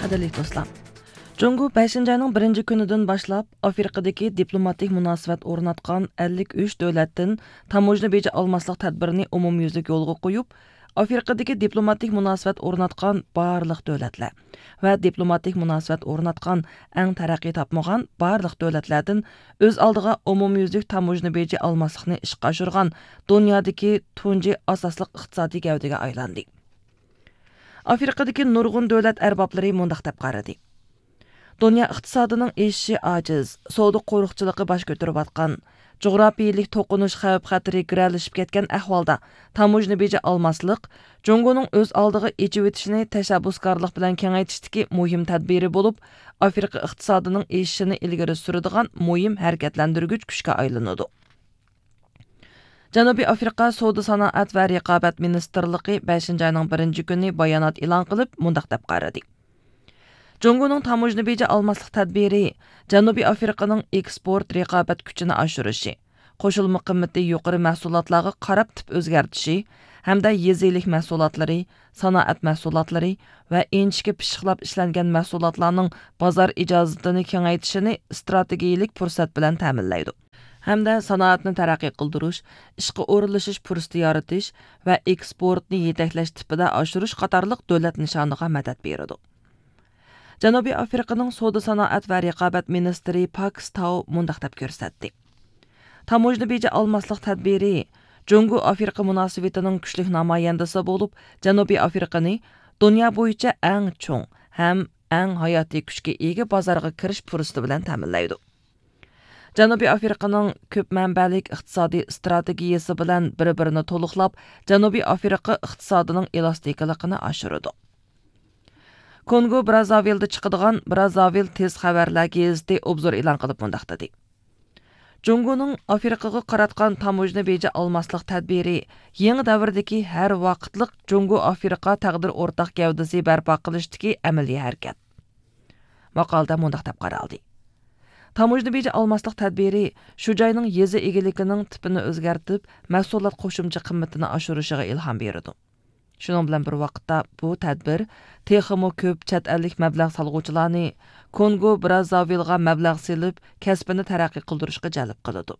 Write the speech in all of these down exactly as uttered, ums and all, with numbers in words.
قەدىرلىك دوستلار، جۇڭگو بەشىنچى ئاينىڭ بىرىنچى كۈنىدىن باشلاپ ئافرىقىدىكى دىپلوماتىك مۇناسىۋەت ئورناتقان ئەللىك ئۈچ دۆلەتتىن تاموژنا بېجى ئالماسلىق تەدبىرىنى ئومۇميۈزلۈك يولغا قويۇپ، ئافرىقىدىكى دىپلوماتىك مۇناسىۋەت ئورناتقان بارلىق دۆلەتلەر ۋە دىپلوماتىك مۇناسىۋەت ئورناتقان ئەڭ تەرەققىي تاپمىغان بارلىق دۆلەتلەردىن ئۆز ئالدىغا ئومۇميۈزلۈك تاموژنا بېجى ئالماسلىقنى ئىشقا ئاشۇرغان دۇنيادىكى تۇنجى ئاساسلىق ئىقتىسادىي گەۋدىگە ئايلاندى. ئافرىقىدىكى نۇرغۇن دۆلەت ئەربابلىرى مۇنداق دەپ قارىدى: دۇنيا ئىقتىسادىنىڭ ئېشىشى ئاجىز، سودا قورۇقچىلىقى باش كۆتۈرۈۋاتقان، جۇغراپىيىلىك توقۇنۇش خەۋپ-خەتىرى گىرەلىشىپ كەتكەن ئەھۋالدا، تاموژنا بېجى ئالماسلىق جۇڭگونىڭ ئۆز ئالدىغا ئېچىۋېتىشىنى تەشەببۇسكارلىق بىلەن كېڭەيتىشتىكى مۇھىم تەدبىرى بولۇپ، ئافرىقا ئىقتىسادىنىڭ ئېشىشىنى ئىلگىرى سۈرىدىغان مۇھىم ھەرىكەتلەندۈرگۈچ كۈچكە ئايلىنىدۇ. جەنۇبىي ئافرىقا سودا سانائەت ۋە رىقابەت مىنىستىرلىقى بەشىنچى ئاينىڭ بىرىنچى كۈنى بايانات ئېلان قىلىپ، مۇنداق دەپ قارىدى: جۇڭگونىڭ تاموژنا بېجى ئالماسلىق تەدبىرى جەنۇبىي ئافرىقىنىڭ ئېكسپورت رىقابەت كۈچىنى ئاشۇرۇشى، قوشۇلما قىممىتى يۇقىرى مەھسۇلاتلارغا قاراپ تىپ ئۆزگەرتىشى ھەمدە يېزا ئىگىلىك مەھسۇلاتلىرى، سانائەت مەھسۇلاتلىرى ۋە ئىنچىكە پىششىقلاپ ئىشلەنگەن مەھسۇلاتلارنىڭ بازار ئىجازىتىنى كېڭەيتىشىنى ئىستراتېگىيىلىك پۇرسەت بىلەن تەمىنلەيدۇ ھەمدە سانائەتنى تەرەققىي قىلدۇرۇش، ئىشقا ئورۇنلىشىش پۇرسىتى يارىتىش ۋە ئېكسپورتنى يېتەكلەش تىپىدا ئاشۇرۇش قاتارلىق دۆلەت نىشانىغا مەدەت بېرىدۇ. جەنۇبىي ئافرىقىنىڭ سودا سانائەت ۋە رىقابەت مىنىستىرى پاكس تاۋ مۇنداق دەپ كۆرسەتتى: تاموژنا بېجى ئالماسلىق تەدبىرى جۇڭگو ئافرىقا مۇناسىۋىتىنىڭ كۈچلۈك نامايەندىسى بولۇپ، جەنۇبىي ئافرىقىنى دۇنيا بويىچە ئەڭ چوڭ ھەم ئەڭ ھاياتىي كۈچكە ئىگە بازارغا كىرىش پۇرسىتى بىلەن تەمىنلەيدۇ. جەنۇبىي ئافرىقىنىڭ كۆپ مەنبەلىك ئىقتىسادىي ئىستراتېگىيىسى بىلەن بىر-بىرىنى تولۇقلاپ، جەنۇبىي ئافرىقا ئىقتىسادىنىڭ ئېلاستىكىلىقىنى ئاشۇرىدۇ. كونگو برازاۋىلدا چىقىدىغان برازاۋىل تېز خەۋەرلەر گېزىتى ئوبزور ئېلان قىلىپ مۇنداق دېدى: جۇڭگونىڭ ئافرىقىغا قاراتقان تاموژنا بېجى ئالماسلىق تەدبىرى يېڭى دەۋردىكى ھەر ۋاقىتلىق جۇڭگو ئافرىقا تەقدىر ئورتاق گەۋدىسى بەرپا قىلىشتىكى ئەمەلىي ھەرىكەت. ماقالىدە مۇنداق دەپ قارالدى: تاموژنا بېجى ئالماسلىق تەدبىرى شۇ جاينىڭ يېزا ئىگىلىكىنىڭ تىپىنى ئۆزگەرتىپ، مەھسۇلات قوشۇمچە قىممىتىنى ئاشۇرۇشىغا ئىلھام بېرىدۇ. شۇنىڭ بىلەن بىر ۋاقىتتا، بۇ تەدبىر تېخىمۇ كۆپ چەت ئەللىك مەبلەغ سالغۇچىلارنى كونگو برازاۋىلغا مەبلەغ سېلىپ، كەسپىنى تەرەققىي قىلدۇرۇشقا جەلپ قىلىدۇ.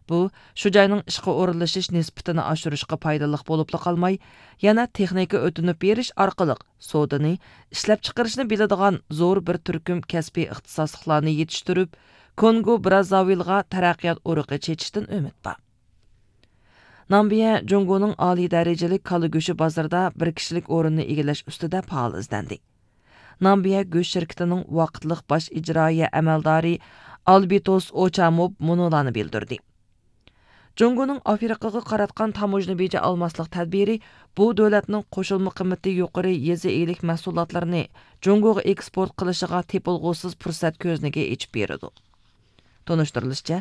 بۇ، شۇ جاينىڭ ئىشقا ئورۇنلىشىش نىسبىتىنى ئاشۇرۇشقا پايدىلىق بولۇپلا قالماي، يەنە تېخنىكا ئۆتۈنۈپ بېرىش ئارقىلىق سودىنى، ئىشلەپچىقىرىشنى بىلىدىغان زور بىر تۈركۈم كەسپىي ئىختىساسلىقلارنى يېتىشتۈرۈپ، كونگو برازاۋىلغا تەرەققىيات ئۇرۇقى چېچىشتىن ئۈمىد بار. نامبىيە جۇڭگونىڭ ئالىي دەرىجىلىك كالا گۆشى بازىرىدا بىر كىشىلىك ئورۇننى ئىگىلەش ئۈستىدە پائال ئىزدەندى. نامبىيە گۆش شىركىتىنىڭ ۋاقىتلىق باش ئىجرائىيە ئەمەلدارى ئالبىتوس ئوچاموب مۇنۇلارنى بىلدۈردى: جۇڭگونىڭ ئافرىقىغا قاراتقان تاموژنا بېجى ئالماسلىق تەدبىرى بۇ دۆلەتنىڭ قوشۇلما قىممىتى يۇقىرى يېزا ئىگىلىك مەھسۇلاتلىرىنى جۇڭگوغا ئېكسپورت قىلىشىغا تېپىلغۇسىز پۇرسەت كۆزنىكى ئېچىپ بېرىدۇ. تونۇشتۇرۇلۇشىچە،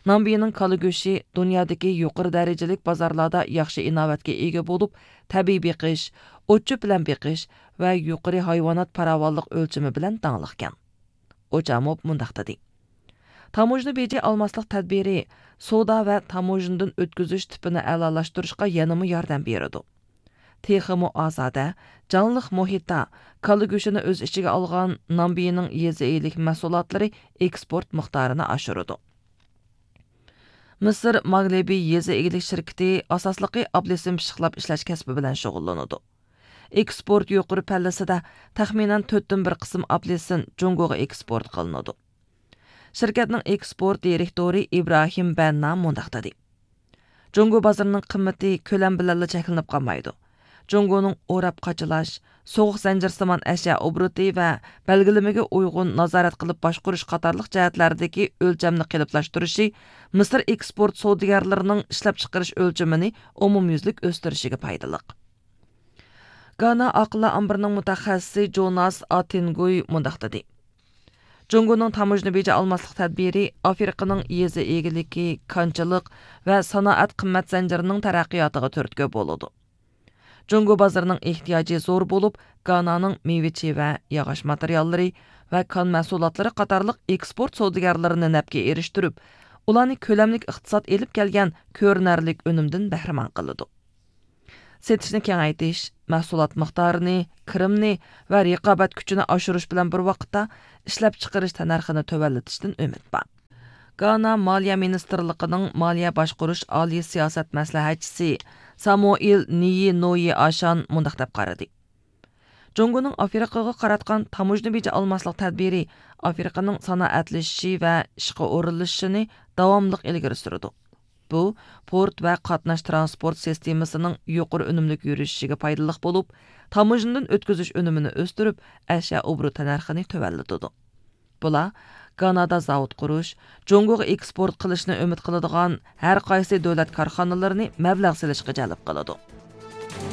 نامبىيىنىڭ كالا گۆشى دۇنيادىكى يۇقىرى دەرىجىلىك بازارلاردا ياخشى ئىناۋەتكە ئىگە بولۇپ، تەبىئىي بېقىش، ئوت-چۆپ بىلەن بېقىش ۋە يۇقىرى ھايۋانات پاراۋانلىق ئۆلچىمى بىلەن داڭلىقكەن. ئوچاموپ مۇنداق دېدى: تاموژنا بېجى ئالماسلىق تەدبىرى سودا ۋە تاموژنىدىن ئۆتكۈزۈش تىپىنى ئەلالاشتۇرۇشقا يەنىمۇ ياردەم بېرىدۇ. تېخىمۇ ئازادە، جانلىق مۇھىتتا كالا گۆشىنى ئۆز ئىچىگە ئالغان نامبىيىنىڭ يېزا ئىگىلىك مەھسۇلاتلىرى ئېكسپورت مىقدارىنى ئاشۇرىدۇ. مىسىر ماگلېبى يېزا ئىگىلىك شىركىتى ئاساسلىقى ئابلىسىم پىششىقلاپ ئىشلەش كەسپى بىلەن شۇغۇللىنىدۇ. ئېكسپورت يۇقىرى پەللىسىدە تەخمىنەن تۆتتىن بىر قىسىم ئابلىسىن جۇڭگوغا ئېكسپورت قىلىنىدۇ. شىركەتنىڭ ئېكسپورت دىرېكتورى ئىبراھىم بەننا مۇنداق دېدى: جۇڭگو بازىرىنىڭ قىممىتى كۆلەم بىلەنلا چەكلىنىپ قالمايدۇ. جۇڭگونىڭ ئوراپ قاچىلاش، سوغۇق زەنجىرسىمان ئەشيا ئوبوروتى ۋە بەلگىلىمىگە ئۇيغۇن نازارەت قىلىپ باشقۇرۇش قاتارلىق جەھەتلەردىكى ئۆلچەمنى قېلىپلاشتۇرۇشى مىسىر ئېكسپورت سودىگەرلىرىنىڭ ئىشلەپچىقىرىش ئۆلچىمىنى ئومۇميۈزلۈك ئۆستۈرۈشىگە پايدىلىق. گانا ئاقىللار ئامبىرىنىڭ مۇتەخەسسىسى جوناس ئاتىنگۇي مۇنداق دېدى: جۇڭگونىڭ تاموژنا بېجى ئالماسلىق تەدبىرى ئافرىقىنىڭ يېزا ئىگىلىكى، كانچىلىق ۋە سانائەت قىممەت زەنجىرىنىڭ تەرەققىياتىغا تۈرتكە بولىدۇ. جۇڭگو بازىرىنىڭ ئېھتىياجى زور بولۇپ، گانانىڭ مېۋە-چېۋە، ياغاچ ماتېرىياللىرى ۋە كان مەھسۇلاتلىرى قاتارلىق ئېكسپورت سودىگەرلىرىنى نەپكە ئېرىشتۈرۈپ، ئۇلارنى كۆلەملىك ئىقتىساد ئېلىپ كەلگەن كۆرۈنەرلىك ئۈنۈمدىن بەھرىمەن قىلىدۇ. سېتىشنى كېڭەيتىش، مەھسۇلات مىقدارىنى، كىرىمنى ۋە رىقابەت كۈچىنى ئاشۇرۇش بىلەن بىر ۋاقىتتا ئىشلەپچىقىرىش تەننەرخىنى تۆۋەنلىتىشتىن ئۈمىد بار. گانا مالىيە مىنىستىرلىقىنىڭ مالىيە باشقۇرۇش ئالىي سىياسەت مەسلىھەتچىسى سامۇئېل نىيى نويى ئاشان مۇنداق دەپ قارىدى: جۇڭگونىڭ ئافرىقىغا قاراتقان تاموژنا بېجى ئالماسلىق تەدبىرى ئافرىقىنىڭ سانائەتلىشىشى ۋە ئىشقا ئورۇنلىشىشىنى داۋاملىق ئىلگىرى سۈرىدۇ. بۇ، پورت ۋە قاتناش ترانسپورت سىستېمىسىنىڭ يۇقىرى ئۈنۈملۈك يۈرۈشۈشىگە پايدىلىق بولۇپ، تاموژنىدىن ئۆتكۈزۈش ئۈنۈمىنى ئۆستۈرۈپ، ئەشيا ئوبوروت تەننەرخىنى تۆۋەنلىتىدۇ. بۇلار گانادا زاۋۇت قۇرۇش، جۇڭگوغا ئېكسپورت قىلىشنى ئۈمىد قىلىدىغان ھەر قايسى دۆلەت كارخانىلىرىنى مەبلەغ سېلىشقا جەلپ قىلىدۇ.